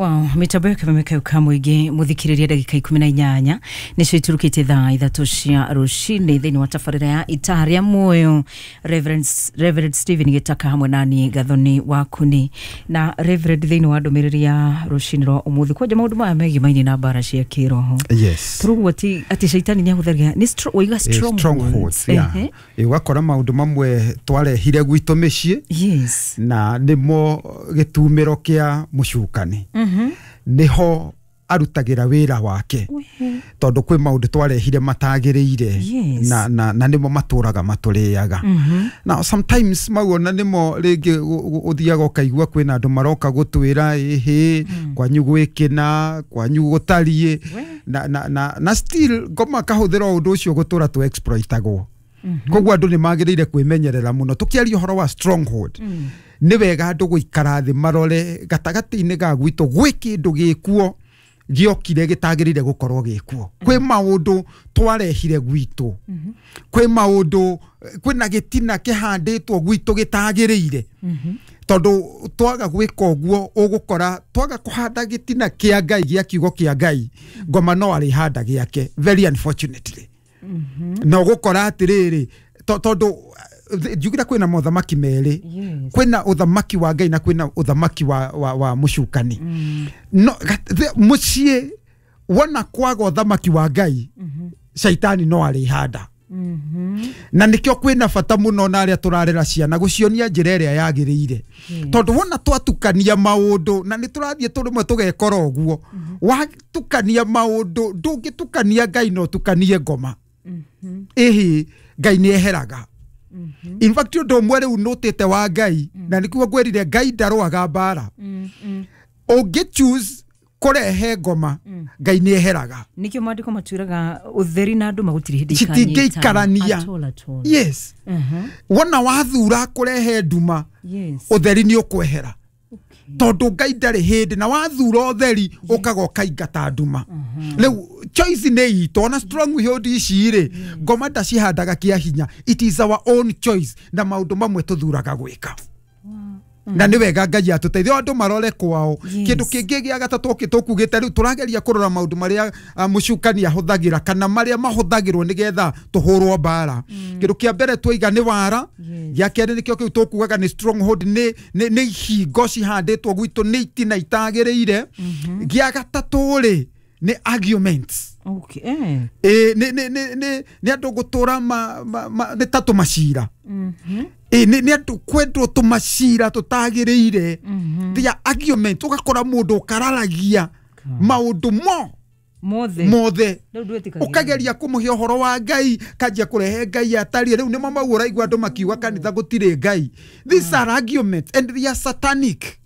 Wow, mitambo ya kameme ka mũingĩ mũthikĩrĩria ndagĩka 18 nĩcio iturukĩte thaa 3 cia rũcinĩ thĩinĩ wa tabarĩra ya Itaa rĩa Muoyo. Reverend Stephen Gĩtaka hamwe nani Gathoni Wakuni na Reverend thĩinĩ wa ndũmĩrĩri ya rũcinĩ rwa ũmũthĩ kwanja maũndũ maya megimaine na mbara cia kĩroho. Tũrauga atĩ caitani nĩahũthagĩra nĩ waiga strongholds, yeah. Ũgakora maũndũ mamwe twarehire gwitũ mĩciĩ. Na nĩmo gĩtumĩro kĩa mũcukani. Niho arutagira wira wake tondu kwi maundu twarehire matagiriire na nimo maturaga maturiaga. Now sometimes mau ona nimo ringi uthiaga ukaigua kwina andu maroka gutwira ihi kwanyu gwikina kwanyu gutarie na still ngoma kahuthira undu ucio gutura tu exploitagwo. Koguo andu ni magiriire kwimenyerera muno tukiaria uhoro wa stronghold. Ni wega andu guikara thi marore gatagati-inĩ ga gwitũ gwĩ kĩndũ gĩkuo gĩokire gĩtagĩrĩire gũkorwo gĩkuo. Kwĩ maũndũ twarehire gwitũ, kwĩ maũndũ kwĩna gĩtina kĩhandĩtwo gwitũ gĩtagĩrĩire, tondũ twaga gwĩka ũguo ũgũkora twaga kũhanda gĩtina kĩa Ngai gĩa kiugo kĩa Ngai, ngoma no arĩhanda gĩake, very unfortunately. Na ũgũkora atĩrĩrĩ tondũ njugire kwĩna mothamaki merĩ, kwĩna ũthamaki wa Ngai na kwĩna ũthamaki wa mũcukani. No mũciĩ wona kwaga ũthamaki wa Ngai, caitani no arĩhanda. Na nikĩo kwĩna bata mũno na arĩa tũrarera ciana gũcionia njĩra ĩrĩa yagĩrĩire, tondũ wona twatukania maũndũ na nĩ tũrathiĩ tũrĩmwe tũgekora ũguo, watukania maũndũ ndũngĩtukania Ngai no ũtukanie ngoma. Ĩhĩ Ngai nĩ eheraga. In fact ũndũ ũmwe rĩu nũtĩte wa Ngai na nĩkuo ngwĩrire Ngai ndarũaga mbara. Ũngĩ choose kũrehe ngoma, Ngai nĩ eheraga. Nĩkĩo maandĩko matwĩraga ũtheri na andũ magũtirĩ hĩndĩ citingĩikarania. Yes. Wona wathura kũrehe nduma, ũtheri nĩ ũkwehera. Tondũ Ngai ndarĩ hĩndĩ na wathura ũtheri ũkaga ũkaingata nduma. Rĩu choice nĩ itũ ona stronghold ici rĩ, ngoma ndacihandaga kĩa hinya. It is our own choice na maũndũ mamwe tũthuraga gwĩka. Na nĩ wega Ngai atũteithie andũ marore kwao. Kĩndũ kĩngĩ gĩa gatatũ tũkugĩte rĩu tũrageria kũrora maũndũ marĩa mũcukani ahũthagĩra kana marĩa mahũthagĩrwo nĩgetha tũhũrwo mbara. Kĩndũ kĩa mbere twaiga nĩ wara, gĩa kerĩ nĩkĩo kĩu tũkugaga nĩ stronghold, nĩ ihingo cihandĩtwo gwitũ, nĩ itina itagĩrĩire. Gĩa gatatũ rĩ nĩ arguments. Nĩ andũ gũtũra nĩ ta tũmacira. Nĩ andũ kwendwo tũmacira tũtagĩrĩire. They are argument. Ũgakora mũndũ ũkararagia maũndũ mothe ũkageria kũmũhe ũhoro wa Ngai, kanjia kũrehe Ngai atarie. Rĩu nĩmo mau ũraigua andũ makiuga kanitha gũtirĩ Ngai. These are arguments and they are satanic.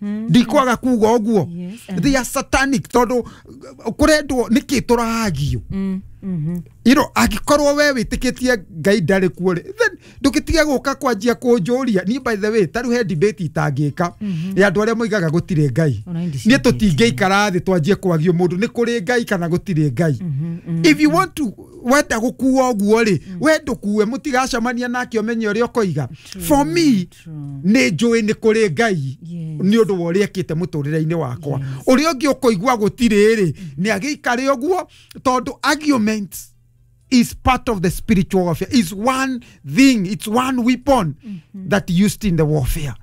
Ndikwaga kuga ũguo. They are satanic tondũ kũrendwo nĩkĩ tũrahagio. You know, angĩkorwo we wĩtĩkĩtie Ngai ndarĩ kuo rĩ, then ndũgĩtige gũka kwanjia kũnjũria. Niĩ by the way, ta rĩu he debate itangĩka ya andũ arĩa moigaga gũtirĩ Ngai. Niĩ tũtingĩikara thĩ twanjie kwagio mũndũ nĩ kũrĩ Ngai kana gũtirĩ Ngai. If you want to wenda gũkua ũguo rĩ, we ndũkue, mũtigacemania nake ũmenye ũrĩa ũkoiga. For me, nĩ njũĩ nĩ kũrĩ Ngai nĩ ũndũ wa ũrĩa ekĩte mũtũrĩre-inĩ wakwa. Ũrĩa ũngĩ ũkoigua gũtirĩ rĩ, nĩ agĩikare ũguo tondũ argument is part of the spiritual warfare. It's one thing, it's one weapon that used in the warfare.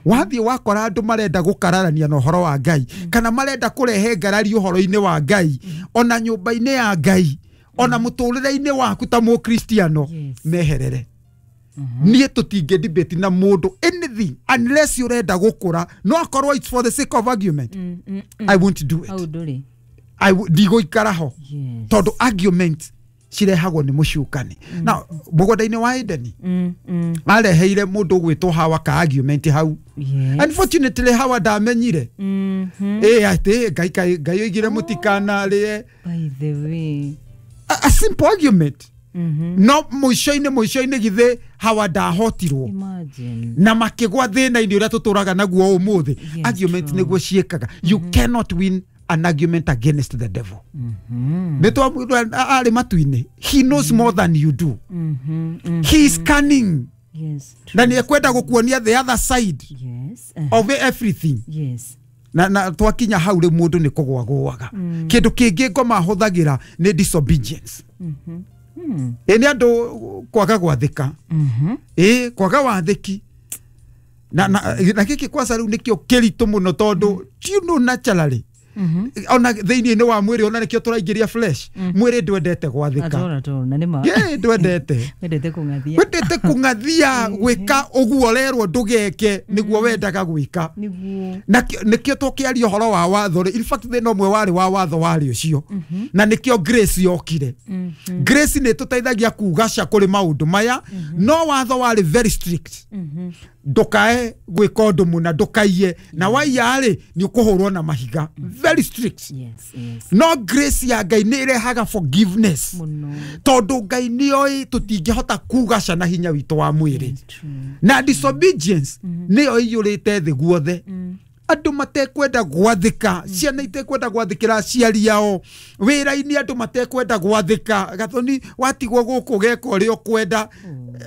Wathiĩ wakora andũ marenda gũkararania na ũhoro wa Ngai, kana marenda kũrehe ngarari ũhoro-inĩ wa Ngai, ona nyũmba-inĩ ya Ngai, ona mũtũrĩre-inĩ waku ta mũkristiano, meherere. Niĩ tũtingĩ debate na mũndũ anything unless ũrenda gũkũra. No akorwo it's for the sake of argument. I won't do it. Ndigũikara ho tondũ argument cirehagwo nĩ mũcukani. Na mũgũnda-inĩ wa Edeni areheire mũndũ ũgwĩtwo Hawa ka argument hau. Unfortunately Hawa ndamenyire atĩ Ngai oigire mũtikanarĩe. By the way, a simple argument. No mũico-inĩ githĩ Hawa ndahotirwo na makĩgwa thĩna-inĩ ũrĩa tũtũraga naguo ũmũthĩ. Argument nĩguo ciĩkaga. You cannot win an argument against the devil. Nĩ arĩ matu-inĩ. He knows more than you do. He is cunning. Na nĩ ekwenda gũkuonia the other side of everything. Na twakinya hau rĩ mũndũ nĩ kũgwagũaga. Kĩndũ kĩngĩ ngoma hũthagĩra nĩ disobedience. Ĩ nĩ andũ kwaga gwathĩka. Ĩ kwaga wathĩki. Na gĩkĩ kwanza rĩu nĩkĩo kĩritũ mũno tondũ you know naturally ona thĩinĩ wa mwĩrĩ ona nĩkĩo tũraingĩria flesh mwĩrĩ ndwendete gwathĩka. Ndwendete wendete kũng'athia gwĩka ũguo ũrerwo ndũgeke nĩguo wendaga gwĩka. Na nĩkĩo tũkĩaria ũhoro wa watho rĩ, in fact thĩna ũmwe warĩ wa watho warĩ ũcio, na nĩkĩo grace yokire. Grace nĩ ĩtũteithagia kugaca kũrĩ maũndũ maya, no watho warĩ very strict. Ndukae gwĩka ũndũ mũna, ndũkaiye, na waiya rĩ nĩ ũkũhũrwo na mahiga. Very strict. Yes. No grace ya Ngai nĩ ĩrehaga forgiveness tondũ Ngai nĩoĩ tũtingĩhota kugaca na hinya witũ wa mwĩrĩ. Na disobedience nĩyo ĩiyũrĩte thĩ guothe. Andũ matekwenda gwathĩka, ciana itekwenda gwathĩkĩra aciari ao, wĩra-inĩ andũ matekwenda gwathĩka. Gathoni watigwo gũkũ ũgeka ũrĩa ũkwenda.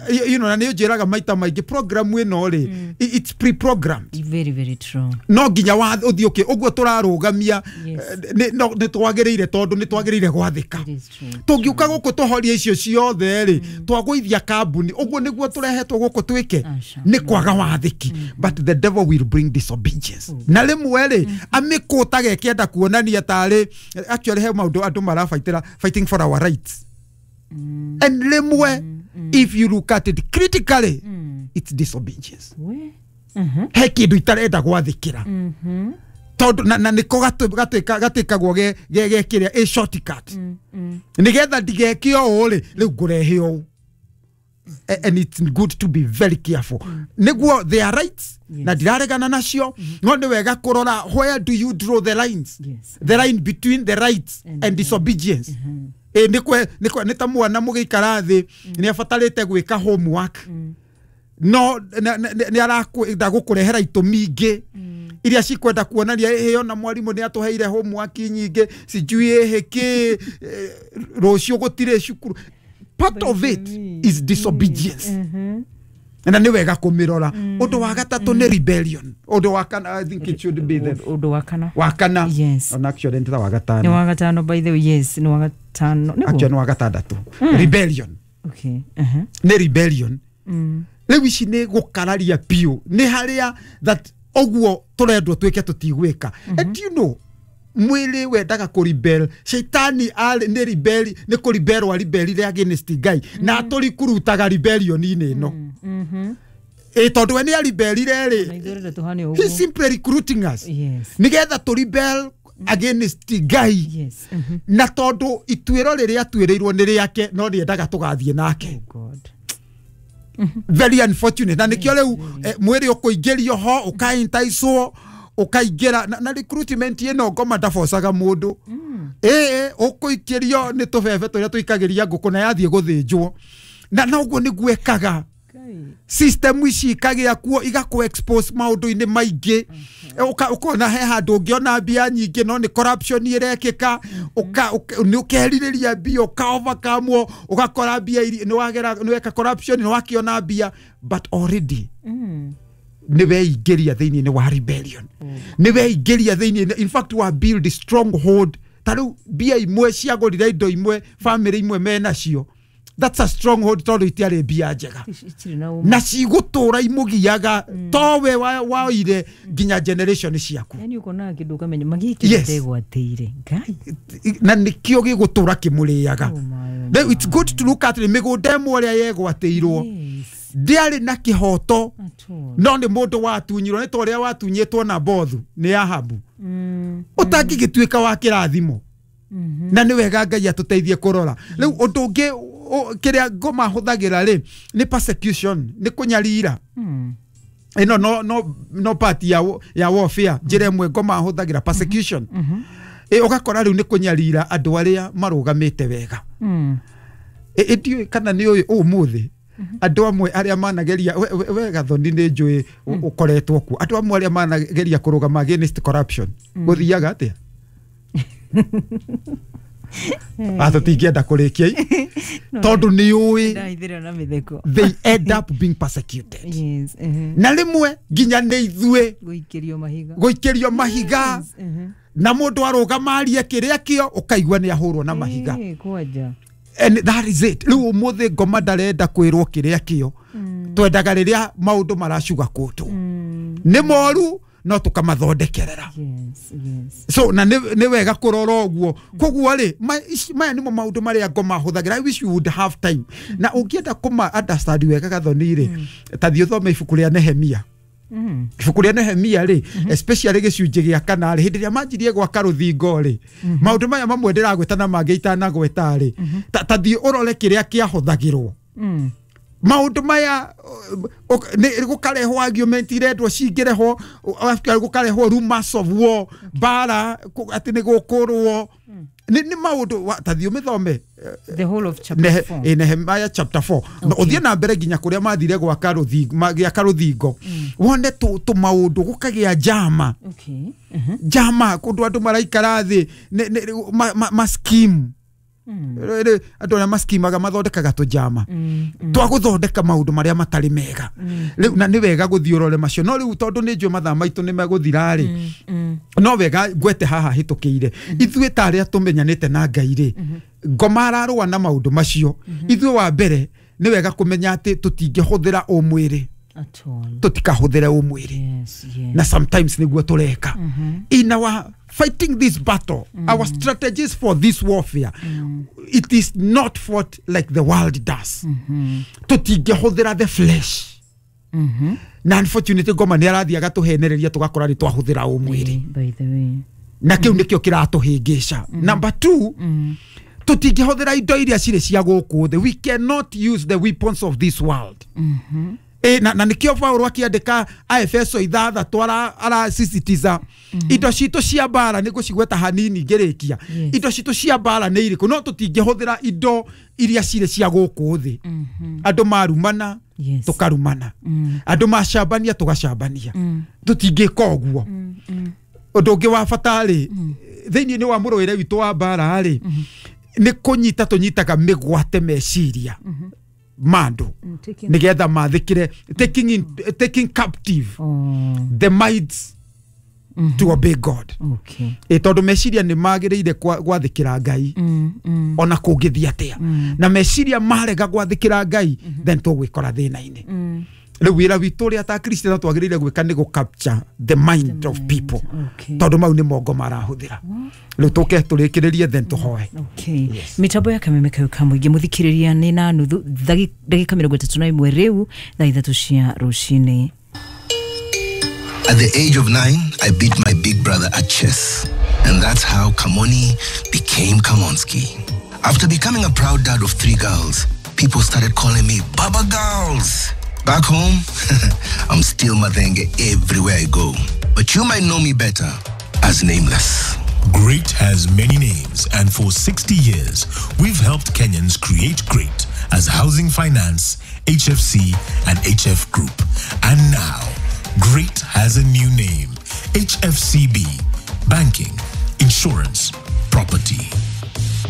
You know, na nĩ ũnjĩraga maita maingĩ program ĩno rĩ, it's pre-programmed. Very, very true. No nginya ũthiĩ ũkĩ ũguo tũrarũgamia nĩ twagĩrĩire tondũ nĩ twagĩrĩire gwathĩka. Tũngiũka gũkũ tũhorie icio ciothe rĩ, twagũithia kambuni ũguo nĩguo tũrehetwo gũkũ twĩke nĩ kwaga wathĩki. But the devil will bring disobedience. Na rĩmwe rĩ amĩkũtaga ĩkĩenda kuonania tarĩ actually he maũndũ andũ marabaitĩra fighting for our rights. And rĩmwe if you look at it critically, it's disobedience. He kĩndũ itarenda gwathĩkĩra tondũ na nĩko gatwĩkagwo ge kĩrĩa a shortcut nĩgetha ndigeke ũũ rĩ, rĩu ngũrehe ũũ. And it's good to be very careful. Nĩguo their rights na ndiraregana nacio, no nĩ wega kũrora where do you draw the lines. The line between the rights and disobedience. Nĩ ta mwana mũgĩikara thĩ nĩ abatarĩte gwĩka homework, no nĩ arakwenda gũkũrehera itũmi ingĩ iria cikwenda kuonania ĩyo na mwarimũ nĩ atũheire homework nyingĩ sijui ĩhĩ kĩ rũciũ gũtirĩ cukuru. Part of it is disobedience. Na nĩ wega kũmĩrora. Ũndũ wa gatatũ nĩ rebellion. Ũndũ wa kana, I think it should be the ũndũ wa kana. Wa kana. Yes. On actually nĩ wa gatano. Nĩ wa gatano by the way, yes, nĩ wa gatano. Actually nĩ wa gatandatũ. Rebellion. Okay. Nĩ rebellion. Rĩu ici nĩ gũkararia biũ. Nĩ harĩa that ũguo tũrendwo twĩke tũtigwĩka. And you know, mwĩrĩ wendaga kũrebel. Shaitani arĩ nĩ rebel, nĩ kũrebel rebelire against Ngai na atũrikurutaga rebellion-inĩ ĩno. Tondũ we nĩ aribelire rĩ, he simply recruiting us nĩgetha tũ rebel against Ngai. Na tondũ ituĩro rĩrĩa atuĩrĩirwo nĩ rĩake, no nĩendaga tũgathiĩ nake. Very unfortunate. Na nĩkĩo rĩu mwĩrĩ ũkũingĩrio ho ũkaintaicwo ũkaingĩra na recruitment ĩno ngoma ndabocaga mũndũ. Ũkũikĩrio nĩ tũbebe tũrĩa tũikagĩria ngũkũ na yathiĩ gũthĩnjwo. Na noguo nĩguo ĩkaga. System ici ikagĩa kuo igakũ expose maũndũ-inĩ maingĩ. Ũkona he handũ ũngĩona mbia nyingĩ no nĩ corruption ĩrekĩka, nĩ ũkerirĩria mbia ũka overcome ũgakora mbia nĩ weka corruption nĩ wakĩona mbia, but already nĩ weingĩria thĩinĩ wa rebellion. Nĩ weingĩria thĩinĩ, in fact wa build stronghold. Ta rĩu mbia imwe ciagũrire indo imwe family imwe menacio. That's a stronghold tondũ itiarĩ mbia njega na cigũtũra imũgiaga towe waoire nginya generation ciaku. Yani ũkonaga kĩndũ ũkamenya magĩkĩ ndegwatĩire Ngai, na nĩkĩo gĩgũtũra kĩmũrĩaga. Rĩu it's good to look at mĩgũnda ĩmwe ĩrĩa yegwatĩirwo ndĩarĩ na kĩhoto, no nĩ mũndũ watunyirwo nĩ ta ũrĩa watunyĩtwo na Bothu nĩ Ahabu ũtangĩgĩtuĩka wa kĩrathimo. Na nĩ wega Ngai atũteithie kũrora. Rĩu ũndũ ũngĩ kĩrĩa ngoma hũthagĩra rĩ nĩ persecution, nĩ kũnyarira. Ĩno no part ya warfare, njĩra ĩmwe ngoma hũthagĩra persecution. Ũgakora rĩu nĩ kũnyarira andũ arĩa marũgamĩte wega. Ndiũĩ kana nĩ ũĩ ũmũthĩ andũ amwe arĩa manageria we Gathoni nĩ njũĩ ũkoretwo kuo, andũ amwe arĩa manageria kũrũgama against corruption gũthiaga atĩa? Tũtingĩenda kũrĩkia tondũ nĩ ũĩ Ndaithĩra na mĩtheko. They end up being persecuted. Yes. Na rĩmwe nginya nĩ ithuĩ Gũikĩrio mahiga. Gũikĩrio mahiga. Yes. Na mũndũ arũgama arie kĩrĩa kĩo, ũkaigua nĩ ahũrwo na mahiga. Kwanja. And that is it. Rĩu ũmũthĩ ngoma ndarenda kwĩrwo kĩrĩa kĩo. Twendaga rĩrĩa maũndũ maracuga kũtũ nĩ moru, no tũkamathondekerera. So na nĩ wega kũrora ũguo. Koguo rĩ, maya nĩmo maũndũ marĩa ngoma hũthagĩra. I wish you would have time. Na ũngĩenda kũma understand wega, Gathoni rĩ, ta thiĩ ũthome ibuku rĩa Nehemia. Ibuku rĩa Nehemia rĩ, especially gĩcunjĩ gĩa kana rĩ, hĩndĩ ĩrĩa manjirie gwaka rũthingo rĩ, maũndũ maya mamwe ndĩragweta na mangĩ itanagweta rĩ, ta thiĩ ũrore kĩrĩa kĩahũthagĩrwo. Maũndũ maya gũkarehwo argument irendwo cingĩrehwo, gũkarehwo rumors of war, mbara, atĩ nĩ gũkũrwo. Nĩ maũndũ, ta thiĩ ũmĩthome. The whole of chapter 4. Nehemiah chapter 4. Ũthiĩ na mbere nginya kũrĩa mathire gwaka rũthingo, magĩaka rũthingo, wone tũ maũndũ gũkagĩa njama. Njama kũndũ andũ maraikara thĩ ma scheme. Andũ arĩa maskimaga mathondekaga tũnjama twa gũthondeka maũndũ marĩa matarĩ mega. Rĩu na nĩ wega gũthiĩ ũrore macio, no rĩu tondũ nĩ njũĩ mathaa maitũ nĩ megũthira rĩ, no wega ngwete haha hĩtũkĩire. Ithuĩ ta arĩa tũmenyanĩte na Ngai rĩ, ngoma ararũa na maũndũ macio. Ithuĩ wa mbere nĩ wega kũmenya atĩ tũtingĩhũthĩra ũmwĩrĩ. At all. Tũtikahũthĩre ũmwĩrĩ. Na sometimes nĩguo tũreka. In our fighting this battle, our strategies for this warfare, it is not fought like the world does. Tũtingĩhũthĩra the flesh. Na unfortunately ngoma nĩ arathiĩ agatũhenereria tũgakora nĩ twahũthĩra ũmwĩrĩ. By the way. Na kĩu nĩkĩo kĩratũhĩngĩca. Number 2, tũtingĩhũthĩra indo iria cirĩ cia gũkũ thĩ. We cannot use the weapons of this world. Na nĩkĩo Paulo akĩandĩka Aefeso 6 arasisitiza indo citũ cia mbara, nĩ ngũcigweta hanini ngĩrĩkia. Indo citũ cia mbara nĩ irĩkũ? No tũtingĩhũthĩra indo iria cirĩ cia gũkũ thĩ. Andũ marumana, tũkarumana. Andũ macambania, tũgacambania. Tũtingĩka ũguo. Ũndũ ũngĩ wa bata rĩ, thĩinĩ wa mũrũĩre witũ wa mbara rĩ, nĩ kũnyita tũnyitaga mĩgwate meciria ma andũ nĩgetha mathĩkĩre, taking captive the minds to obey God. Tondũ meciria nĩ magĩrĩire gwathĩkĩra Ngai ona kũngĩthiĩ atĩa. Na meciria marega gwathĩkĩra Ngai, then tũgwĩkora thĩna-inĩ. Rĩu wĩra witũ ũrĩa ta Kristiano twagĩrĩire gwĩka nĩ gũ capture the mind of people. Tondũ mau nĩ mongo marahũthĩra. Rĩu tũke tũrĩkĩrĩrie, then tũhoe. Okay. Mitambo ya Kameme kayo ka mũingĩ, mũthikĩrĩria, nĩ na nuthu ndagĩka 31 rĩu thaa 3 cia rũcinĩ. At the age of 9, I beat my big brother at chess. And that's how Kamoni became Kamonski. After becoming a proud dad of 3 girls, people started calling me Baba Girls. Back home, I'm still Mathenge everywhere I go. But you might know me better as Nameless. Great has many names, and for 60 years, we've helped Kenyans create great as Housing Finance, HFC, and HF Group. And now, Great has a new name, HFCB, Banking, Insurance, Property.